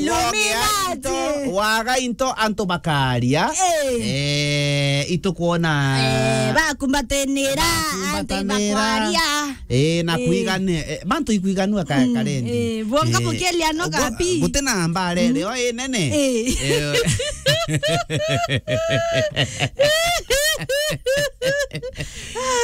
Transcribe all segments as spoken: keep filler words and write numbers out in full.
Illuminati. Waga into, waga into antu bakaria. Eh. Eh, itukwona. Eh, bakumbatanira, antu bakwaria. Eh, na eh, kwigane, eh, bantu ikwiganua ka-, mm, karendi. Eh, bwonga eh, bukelia no gapi. Gutina mbare mm, reo inene. Eh. Eh.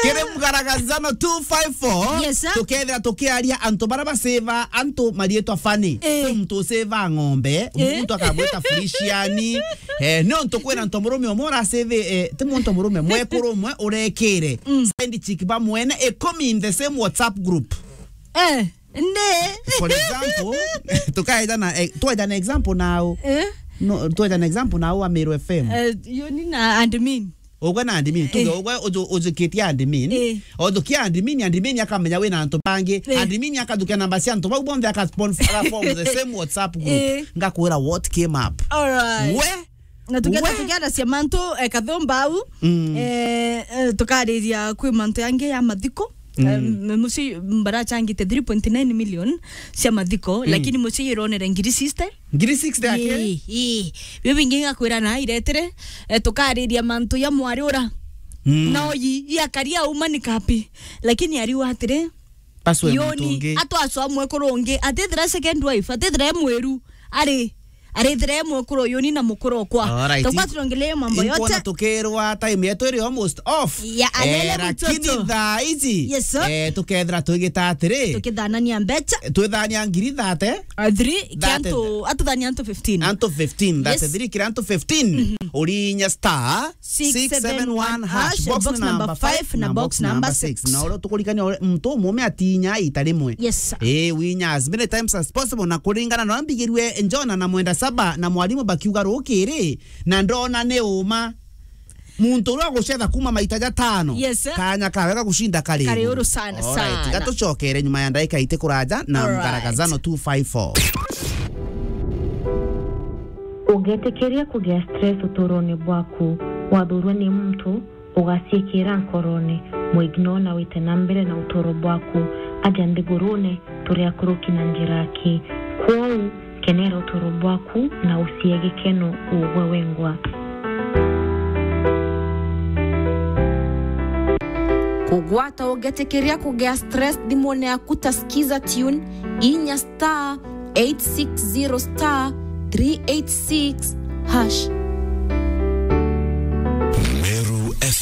Kiri Mgaragazano two five four, yes, sir, tukethira tukiaria antu bara baseva antu marietwa funny. Eh. Kwi muntu useva ng'ombe, eh, muntu akagwita Feliciani. Eh, ni untu kwina ntomurume umwe uraseve, eh, ti muntu murume, mwekuru umwe urekire. Mm. Side chick ba mwene ikumi in the same WhatsApp group. Eh, ne. For example, tukaeja na, eh, tueja na example now. Eh? No, tueja na example now wa Meru F M. Eh, yo ni na admin. Ugwe na admin, tuge eh, ugwe uju-, ujukitie admin. Eh. Ujukia admin, admin akamenya wina antu bangi. Eh. Admin akathukia namba cia antu bau bonthe aka spon-, aka form the same WhatsApp group. Eh. Ngakwira what came up. All right. We? Na tukienda, we, tukienda cia mantu, eh, kathumba au. Mm. Eh, eh, tukariria kwi mantu yangi ya mathiko. Mm. Em, mucii barachangite three point nine million cia mathiko, mm, lakini mucii ironere ngiri sixty. Ngiri sixty ake? Ii, ii. Bio bingi ngakwira na iretere, eh, tukariria mantu ya mwari ura. Mm. Na oyi, i akaria uma ni kapi. Lakini ariu atiri, Yoni, atwacwa mwekuru ungi, atithira second wife, atithira e mwiru, ari, arithira e mwekuru Yoni na mukuru okwa. Alright. Tokwa turongelee mambo yote. Inkwona tukirwa time yetu iri almost off. Ya, alele eh, lakini mtoto. Thaa ici, yes, sir, eh, tukethira twigita atiri. Tukithanania mbecha. Twithania ngiri thate. Ah, three, thate. Kiantu, atuthania antu fifteen. Antu fifteen, yes, thate three kira antu fifteen. Mhm. Urinya star six seven one hash, box number five na box number six. Na uria tukurikania muntu umume atinya ita rimwe. Yes, sir. Eh, winya as many times as possible na kuringana na mbigirwe Jona na mwenda saba na mwalimu bakiuga rukiri, na ndona ni uma. Muntu uria agucetha kuma maita ja tano. Yes, sir. Kanya kawe ga gucinda kari kari uru sana, alright, sana. Tiga tucokere nyuma ya ndagika iti kuraja na alright. Mgaragazano two five four. Ũngĩtĩkĩria kũgĩa stress ũtũũro-inĩ bwaku, wathurwa nĩ muntu, ũgaciĩkĩra nkoro-inĩ, mũignore na wĩte na mbere na ũtũũro bwaku, aja nthĩgũrũ-inĩ tũrĩ akũrũki na njĩra ki. Kwoou, kenera ũtũũro bwaku na ũcie gĩkeno ũgwe wengwa. Kũgwata ũngĩtĩkĩria kũgĩa stress thimũ-inĩ yaku ta Skiza Tune, inya star eight six zero star three eight six hash.